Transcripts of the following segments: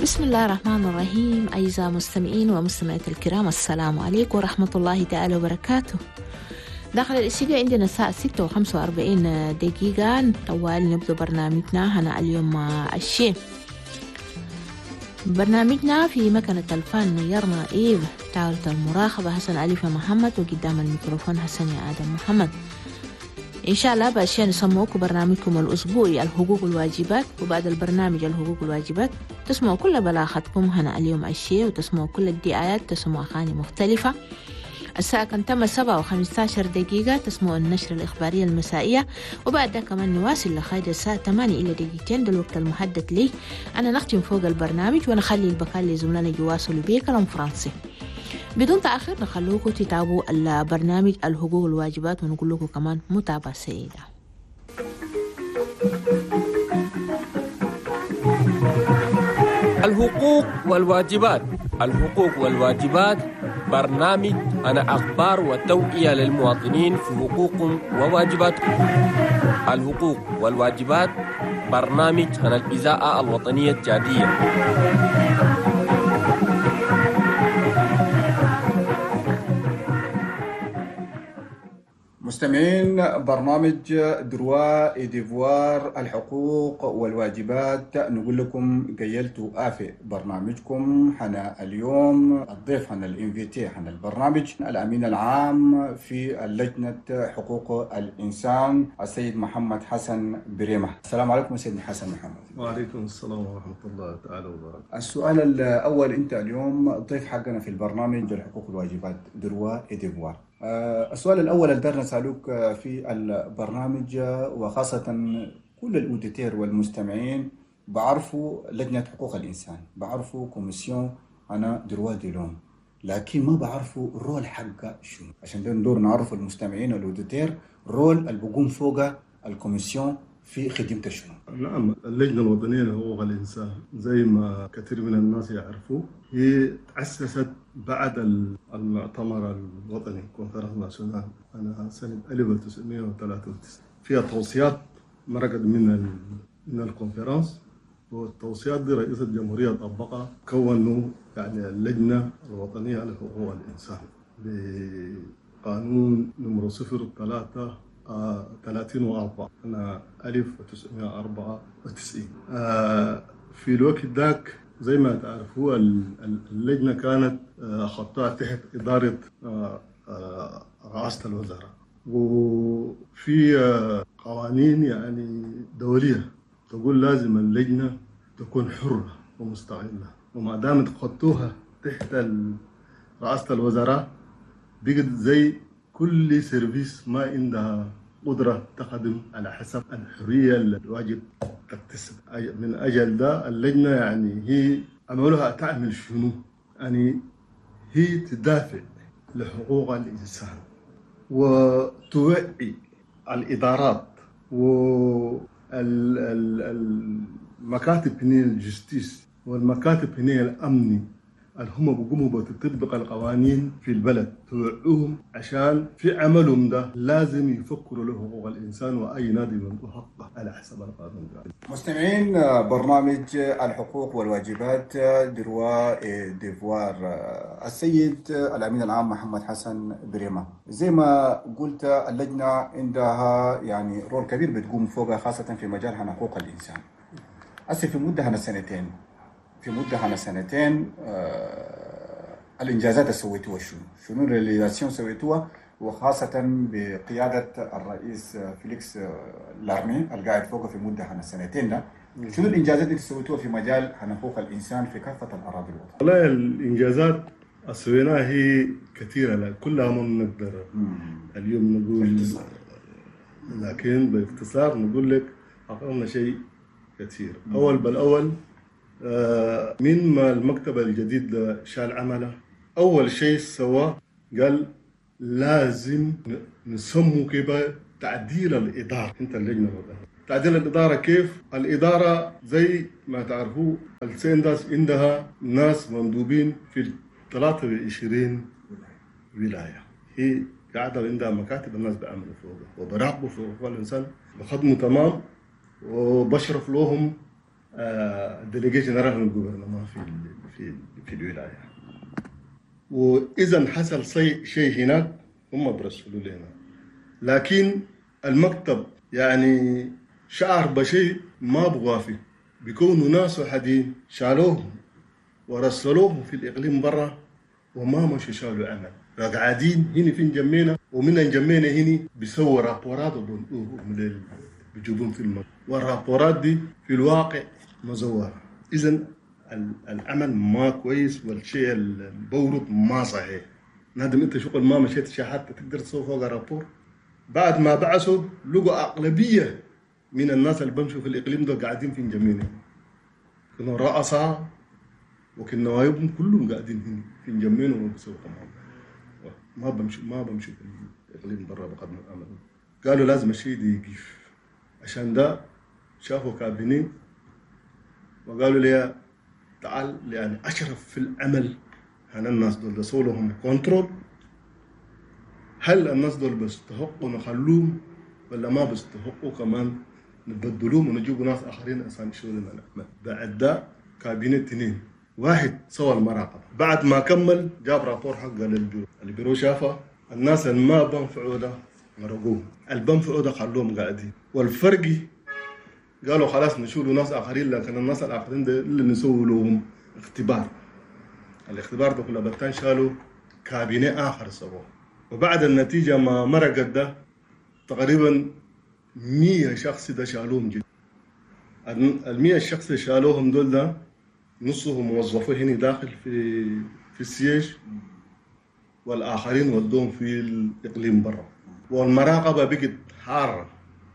بسم الله الرحمن الرحيم. أعزائي المستمعين ومستمعات الكرام، السلام عليكم ورحمة الله تعالى وبركاته. داخل الاستديو عندنا الساعة 6:45 طوال نبدأ برنامجنا هنا اليوم الشيء. برنامجنا في مكنة الفن يرنا إيف، طاولة المراقبة حسن أليفة محمد، وقدام الميكروفون حسن آدم محمد. إن شاء الله بأشياء نسموكم برنامجكم الأسبوعي الحقوق والواجبات، وبعد البرنامج الحقوق والواجبات تسمعوا كل بلاغتكم هنا اليوم الشيء، وتسمعوا كل الدعايات، تسمعوا أغاني مختلفة. الساعة كان تم 7:15 تسمعوا النشرة الإخبارية المسائية، وبعدها كمان نواصل لغاية الساعة 8:58 ده الوقت المحدد لي أنا نختم فوق البرنامج ونخلي البقاء لزملائنا يواصلوا بيه كلام فرنسي. بدون تأخير نخلوكم تتابعوا البرنامج الحقوق والواجبات، ونقول لكم كمان متابعة سعيدة. الحقوق والواجبات، الحقوق والواجبات برنامج أنا أخبار وتوعية للمواطنين في حقوقهم وواجباتهم. الحقوق والواجبات برنامج عن الإذاعة الوطنية التشادية. مستمعين برنامج droits et devoirs الحقوق والواجبات، نقول لكم قيلتوا آفي برنامجكم حنا اليوم. الضيف حنا ال invité حنا البرنامج الأمين العام في لجنة حقوق الإنسان السيد محمد حسن بريمة. السلام عليكم سيد حسن محمد. وعليكم السلام ورحمة الله تعالى وبركاته. السؤال الأول، أنت اليوم الضيف حقنا في البرنامج الحقوق والواجبات droits et devoirs. السؤال الأول اللي دارنا نسألوك في البرنامج، وخاصة كل ال auditeurs والمستمعين بعرفوا لجنة حقوق الإنسان، بعرفوا commission أنا droits de l'homme، لكن ما بعرفوا ال rôle حقه شنو. عشان ده ندور نعرف المستمعين وال auditeurs rôle اللي بقوم فوق ال commission في خدمته شنو. نعم، اللجنة الوطنية لحقوق الإنسان زي ما كثير من الناس يعرفوا هي تأسست بعد المؤتمر الوطني conférence nationale أنا سنة 1993. فيها توصيات مرقت من ال conférence، والتوصيات دي رئيس الجمهورية طبقها، كونوا يعني اللجنة الوطنية لحقوق الإنسان بقانون نمرو 03 34 أنا 1994. في الوقت ذاك زي ما تعرفوا اللجنة كانت خطها تحت إدارة رئاسة الوزراء، وفي قوانين يعني دولية تقول لازم اللجنة تكون حرة ومستقلة، وما دامت خطوها تحت رئاسة الوزراء بقت زي كل service ما عندها قدرة تخدم على حسب الحرية اللي الواجب تكتسب. من أجل ده اللجنة يعني هي عملوها تعمل شنو؟ يعني هي تدافع لحقوق الإنسان وتوعي الإدارات والمكاتب هنا ال justice والمكاتب هنا الأمني اللي هم بيقوموا بتطبق القوانين في البلد، توعوهم عشان في عملهم ده لازم يفكروا له حقوق الإنسان وأي نادي من حقه على حسب القانون ده. مستمعين برنامج الحقوق والواجبات droits et devoirs، السيد الأمين العام محمد حسن بريمة، زي ما قلت اللجنة عندها يعني rôle كبير بتقوم فوقها خاصة في مجال حقوق الإنسان. هسه في مدة هنا سنتين، في مدة هنا سنتين الإنجازات اللي سويتوها شنو ال réalisations سويتوها، وخاصة بقيادة الرئيس فيليكس لارمي القاعد فوقه في مدة هنا سنتين ده، شنو الإنجازات اللي سويتوها في مجال حقوق الإنسان في كافة الأراضي الوطنية؟ والله الإنجازات سويناها هي كثيرة، لا كلها ما بنقدر اليوم نقول، لكن باختصار نقول لك حققنا شيء كثير. أول بالأول من ما المكتب الجديد شال عمله، أول شيء سواه قال لازم نسمو كيف تعديل الإدارة. أنت اللجنة الوطنية تعديل الإدارة كيف؟ الإدارة زي ما تعرفوا السندس عندها ناس مندوبين في 23 ولاية، هي قاعدة عندها مكاتب الناس بيعملوا فوقها وبراقبوا في حقوق الإنسان، بخدموا تمام وبشرف لهم délégué général لل gouvernement في في في الولاية. واذا حصل شيء هناك هم برسلوا لنا، لكن المكتب يعني شعر بشيء ما بغافي، بيكونوا ناس وحدين شالوهم ورسلوهم في الإقليم برا وما مشوا شالوا عمل، قاعدين هنا في نجمينا، ومن نجمينا هنا بيسووا رابورات وبنقوهم بيجيبوهم في المكتب، والرابورات دي في الواقع مزورة. إذا العمل ما كويس والشيء البورد ما صحيح. نادم انت شغل ما مشيت شيء حتى تقدر تسوي فوق rapport. بعد ما بعثوا لقوا أغلبية من الناس اللي بمشوا في الإقليم ده قاعدين في نجمينا، كانوا رؤساء وكنا نوايبهم كلهم قاعدين هنا في نجمينا وبسووا كمان ما بمشوا في الإقليم برا بقدم العمل. قالوا لازم الشيء ده يقف. عشان ده شافوا cabinet وقالوا لي تعال يعني أشرف في العمل هنا الناس دول سووا لهم contrôle، هل الناس دول بيستحقوا نخلوهم ولا ما بيستحقوا كمان نبدلوهم ونجيبوا ناس آخرين عشان يشيلوا لنا العمل. بعد ده cabinet 2 واحد سوى المراقبة، بعد ما كمل جاب rapport حقه لل bureau، ال bureau شافه الناس اللي ما بنفعوا ده مرقوهم، اللي بنفعوا ده خلوهم قاعدين، والفرق قالوا خلاص نشيلوا ناس آخرين، لكن الناس الآخرين ده اللي نسوي لهم اختبار. الاختبار ده كله بتان شالوا cabinet آخر سووه، وبعد النتيجة ما مرقت ده تقريبا 100 شخص ده شالوهم جدا. ال100 شخص شالوهم دول ده نصهم موظفين هنا داخل في ال siège، والآخرين ودوهم في الإقليم برا، والمراقبة بقت حارة.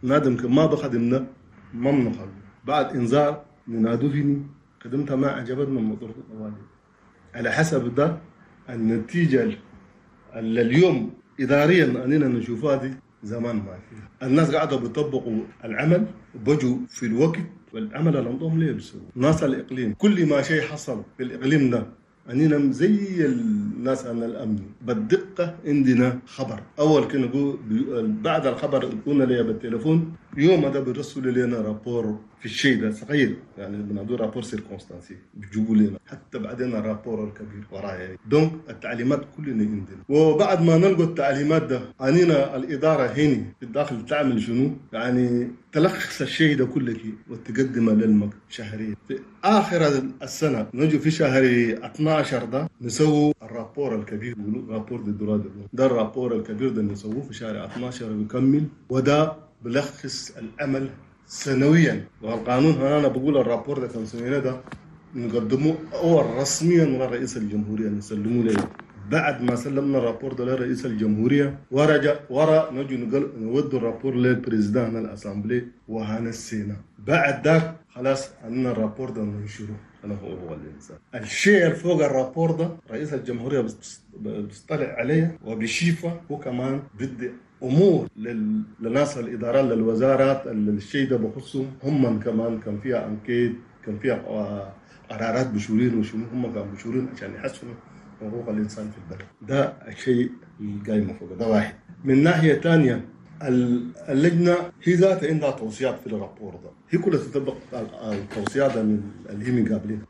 نادم ما بخدمنا ما بنخلو. بعد إنذار ننادوا فيني خدمتها ما عجبتنا من مطرد الطوالي. على حسب ده النتيجة اللي اليوم إداريا أننا نشوفها دي زمان ما فيها. الناس قاعدة بيطبقوا العمل وبجوا في الوقت، والعمل اللي عندهم ليه بيسووا. ناس الإقليم كل ما شيء حصل في الإقليم ده أننا زي الناس عن الأمن بالدقة عندنا خبر. أول كنا نقول بعد الخبر قلنا لي بالتليفون يوم هذا بيرسلوا لنا rapport في الشيء ده صغير، يعني بنقول rapport circonstancié بيجيبوا لنا، حتى بعدين ال rapport الكبير ورايا. donc التعليمات كلنا عندنا، وبعد ما نلقوا التعليمات ده أننا الإدارة هنا في الداخل تعمل شنو؟ يعني تلخص الشيء ده كله وتقدمه للمكتب شهريا. في آخر السنة نجي في شهر 12 ده نسوي ال rapport الكبير، rapport des droits ده ال rapport الكبير ده نسووه في شهر 12 ويكمل، وده بلخص العمل سنويا. والقانون هنا انا بقول ال rapport ده كان سنويا ده نقدمه اول رسميا لرئيس الجمهورية نسلمه له. بعد ما سلمنا ال rapport ده لرئيس الجمهورية ورجع ورا نجي نودي ال rapport لل président ال assemblée وهنا ال sénat. بعد ذاك خلاص عندنا ال rapport ده ننشره. انا هو الانسان الشيء اللي فوق ال rapport ده رئيس الجمهورية بيطلع عليه وبيشيفه، هو كمان بدي امور للناس الادارات للوزارات اللي الشيء ده بخصهم هم كمان. كان فيها enquête، كان فيها قرارات بشورين وشنو، هم كانوا بشورين عشان يحسنوا حقوق الانسان في البلد. ده الشيء القايم فوق ده واحد. من ناحية ثانية اللجنة هي ذاتها عندها توصيات في ال rapport ده، هي كلها تطبق التوصيات اللي هي من قابلين.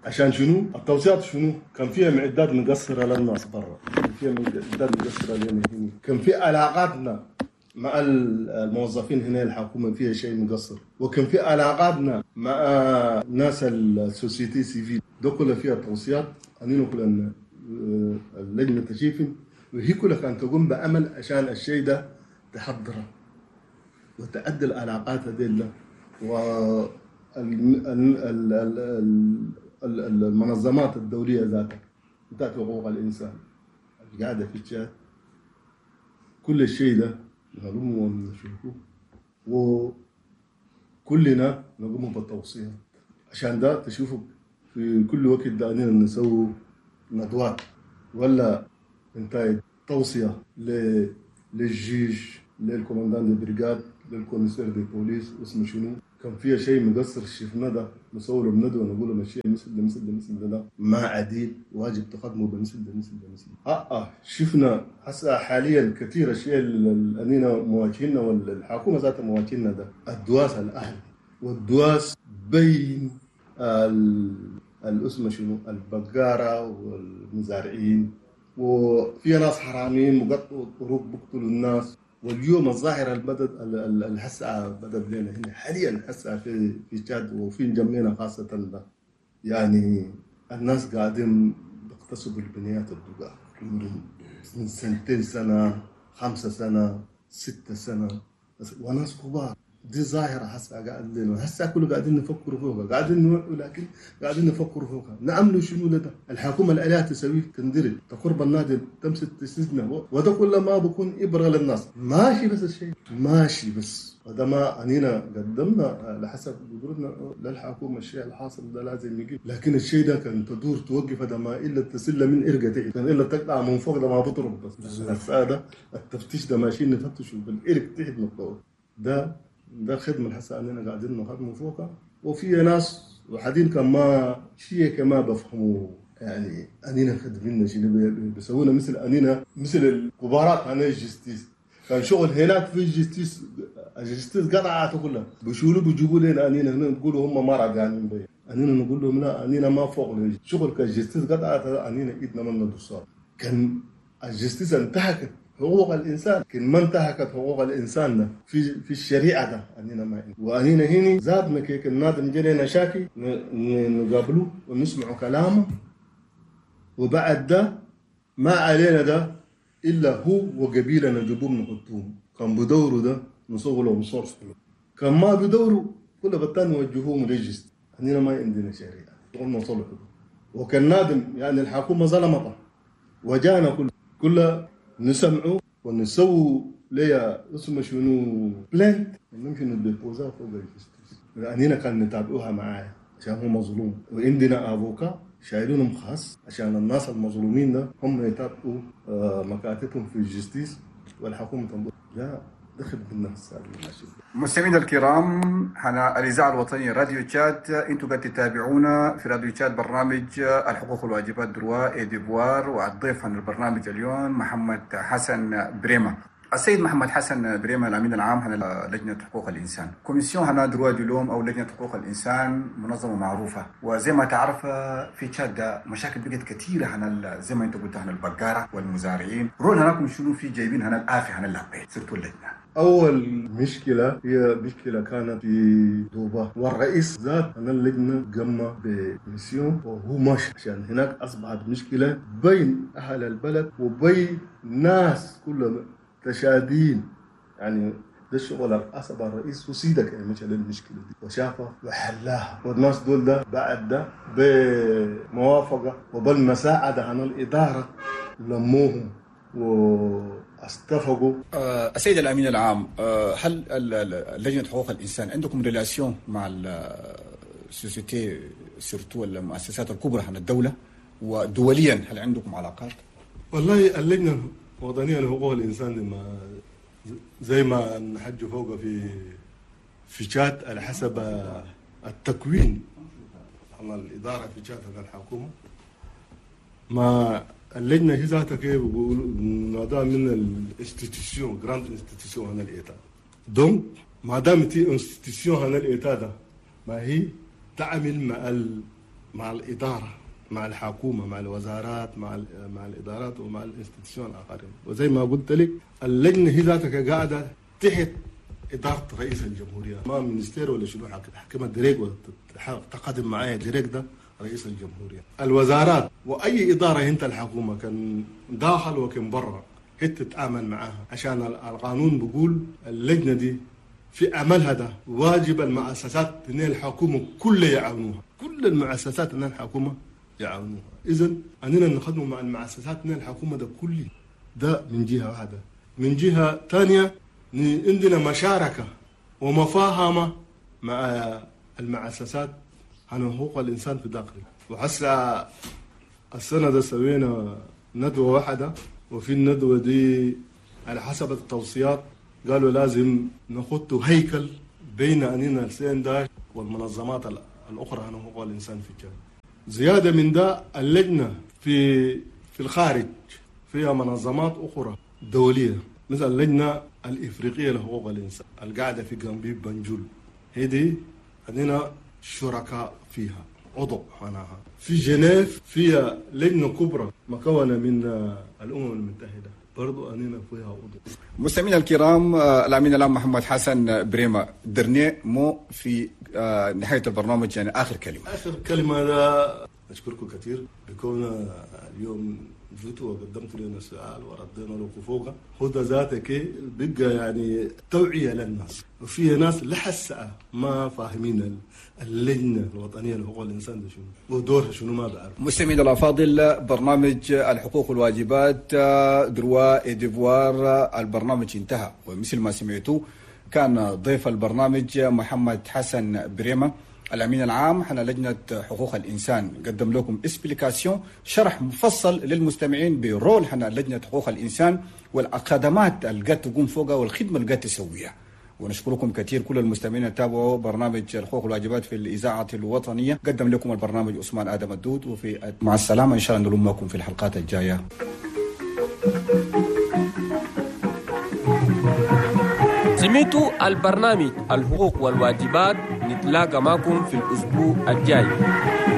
عشان شنو؟ التوصيات شنو؟ كان فيها معدات مقصرة للناس برا، كان فيها معدات مقصرة لنا هنا، كان في علاقاتنا مع الموظفين هنا الحكومة فيها شيء مقصر، وكان في علاقاتنا مع ناس ال société civile، ده كلها فيها توصيات اننا كلنا اللجنة تشيفن، وهي كلها كانت تقوم بعمل عشان الشيء ده تحضره وتعدل علاقات هذيلا والمنظمات الدولية ذاتها بتاعت حقوق الإنسان القاعدة في الشات. كل الشيء ده نقوم ونشوفه وكلنا نقوم بالتوصيات. عشان ده تشوفوا في كل وقت ده أننا نسوي ندوات ولا انتهت توصية لل juge، لل commandant de brigade، لل commissaire de police اسمه شنو، كان فيها شيء مقصر شفنا ده نصوره بندوه نقول له الشيء مثل ده مثل ده مثل ده ما عديل واجب تقدمه بمثل ده مثل ده مثل ده. شفنا هسه حاليا كثير اشياء اللي مواجهيننا والحكومة ذاتها مواجهيننا ده الدواس الاهلي والدواس بين الاسمه شنو البقاره والمزارعين، وفي ناس حراميين بقطعوا الطرق بقتلوا الناس. واليوم الظاهرة بدت الهسعة بدت لنا هنا حاليا هسعة في تشاد وفي جمينا خاصة ده. يعني الناس قاعدين بيغتصبوا البنيات الدقاق من 2 سنة 5 سنة 6 سنة وناس كبار. دي ظاهرة هسه قاعد لنا هسه كله قاعدين نفكروا فوقها، قاعدين نوعوا لكن قاعدين نفكروا فوقها. نعملوا شنو لده؟ الحكومة الآلية تسويه تندرج تقرب النادي تمسك تسجنه، وده كله ما بكون إبرة للناس. ماشي بس الشيء ماشي بس، وده ما أنينا قدمنا لحسب قدرتنا للحكومة. الشيء الحاصل ده لازم يجي، لكن الشيء ده كان تدور توقف ده ما إلا تسلة من إرقة تحت، كان إلا تقطع من فوق ده ما بضرب بس. هسه ده التفتيش ده ماشيين نفتشوا بالإرق تحت نقطة. ده الخدمة الحسنة أننا قاعدين نخدموا فوقها. وفي ناس وحدين كان ما شيء كما بفهموا، يعني أننا خدمنا شيء بيسوونا مثل أننا مثل الكبارات عن ال justice. كان شغل هناك في ال justice، ال justice قطعته كلها بيشولوا بيجيبوا لنا أننا هنا نقولوا هم ما راجعين بي، أننا نقول لهم لا أننا ما فوق شغل كال justice قطعته أننا إيدنا من الدصار. كان ال justice انتهكت حقوق الإنسان، كن ما انتهكت حقوق الإنسان ده في الشريعة ده أننا ما وأننا هنا زادنا كيك النادم جرينا شاكي نقابله ونسمع كلامه، وبعد ده ما علينا ده إلا هو وقبيلة نجيبهم نحطوهم. كان بدوره ده نصغ لهم صرف، كان ما بدوره كل بتان نوجهوهم ريجست. أننا ما عندنا شريعة قلنا صلح. وكان نادم يعني الحكومة ظلمته وجانا كل نسمعه ونسووا ليا اسمه شنو plainte نمشي نديبوزا فوق ال justice. لأننا كان نتابعوها معايا عشان هو مظلوم، وعندنا avocat شايلونهم خاص عشان الناس المظلومين ده هم يتابعوا مكاتبهم في ال justice والحكومة تنظر. لا دخل بالناس. مستمعينا الكرام، هنا الإذاعة الوطنية راديو تشاد، انتم قاعد تتابعونا في راديو تشاد برنامج الحقوق والواجبات droits et devoirs، والضيف عن البرنامج اليوم محمد حسن بريمة. السيد محمد حسن بريمة الأمين العام هنا لجنة حقوق الإنسان، commission هنا droits de l'homme أو لجنة حقوق الإنسان منظمة معروفة، وزي ما تعرف في تشاد مشاكل بقت كثيرة هنا زي ما أنت قلت هنا البقارة والمزارعين، rôle هناكم شنو في جايبين هنا الآفة هنا اللابين صرتوا اللجنة. أول مشكلة هي مشكلة كانت في دوبا، والرئيس ذات أنا اللجنة قام ب mission وهو ماشي، عشان هناك أصبحت مشكلة بين أهل البلد وبين ناس كلهم تشادين. يعني ده الشغل الأصبح الرئيس وسيدك يعني مش المشكلة دي وشافها وحلاها، والناس دول ده بعد ده بموافقة وبالمساعدة عن الإدارة لموهم واتفقوا. السيد الأمين العام، هل لجنة حقوق الإنسان عندكم relation مع ال société surtout المؤسسات الكبرى عن الدولة ودوليا، هل عندكم علاقات؟ والله اللجنة الوطنية لحقوق الإنسان ما زي ما نحج فوق في تشاد على حسب التكوين عن الإدارة في تشاد على الحكومة، ما اللجنة هي ذاتها كيف بيقولوا ما من ال institution grande institution هنا ال État، donc ما دام تي institution هنا ال État ده ما هي تعمل مع الإدارة مع الحكومة مع الوزارات مع الإدارات ومع ال institutions الآخرين. وزي ما قلت لك اللجنة هي ذاتك قاعدة تحت إدارة رئيس الجمهورية، ما ministère ولا شنو حكمة direct ولا تقدم معايا direct ده رئيس الجمهورية. الوزارات وأي إدارة انت الحكومة كان داخل وكان برا هي تتعامل معاها، عشان القانون بيقول اللجنة دي في عملها ده واجب المؤسسات ان الحكومة كلها يعاونوها، كل المؤسسات ان الحكومة يعاونوها. إذن أننا نخدموا مع المؤسسات ان الحكومة ده كلي ده من جهة واحدة. من جهة ثانية عندنا مشاركة ومفاهمة مع المؤسسات عن حقوق الإنسان في داخله. وحسا السنة ده سوينا ندوة واحدة، وفي الندوة دي على حسب التوصيات قالوا لازم نخط هيكل بين أننا السين ده والمنظمات الأخرى عن حقوق الإنسان في الجامعة. زيادة من ده اللجنة في الخارج فيها منظمات أخرى دولية، مثل اللجنة الإفريقية لحقوق الإنسان القاعدة في غامبي بنجول، هذه عندنا شركاء فيها، عضو معناها. في جنيف فيها لجنة كبرى مكونة من الأمم المتحدة، برضو أننا فيها عضو. مستمعينا الكرام، الأمين العام محمد حسن بريمة، dernier mot في نهاية البرنامج، يعني آخر كلمة. آخر كلمة ده أشكركم كثير بكون اليوم جيتوا وقدمتوا لنا السؤال وردينا لكم فوقه. هو ده ذاتك بقى يعني توعية للناس، وفي ناس لحسة ما فاهمين اللجنة الوطنية لحقوق الإنسان ده شنو ودورها شنو ما بعرف. مستمعينا الأفاضل، برنامج الحقوق والواجبات droits et devoirs البرنامج انتهى، ومثل ما سمعتوا كان ضيف البرنامج محمد حسن بريمة الأمين العام حنا لجنة حقوق الإنسان، قدم لكم explication شرح مفصل للمستمعين ب rôle حنا لجنة حقوق الإنسان والخدمات اللي قاعد تقوم فوقها والخدمة اللي قاعد تسويها. ونشكركم كثير كل المستمعين تابعوا برنامج الحقوق والواجبات في الإذاعة الوطنية. قدم لكم البرنامج عثمان آدم الدود، وفي مع السلامة إن شاء الله نلمكم في الحلقات الجاية. سمعتوا البرنامج الحقوق والواجبات، نتلاقى معكم في الأسبوع الجاي.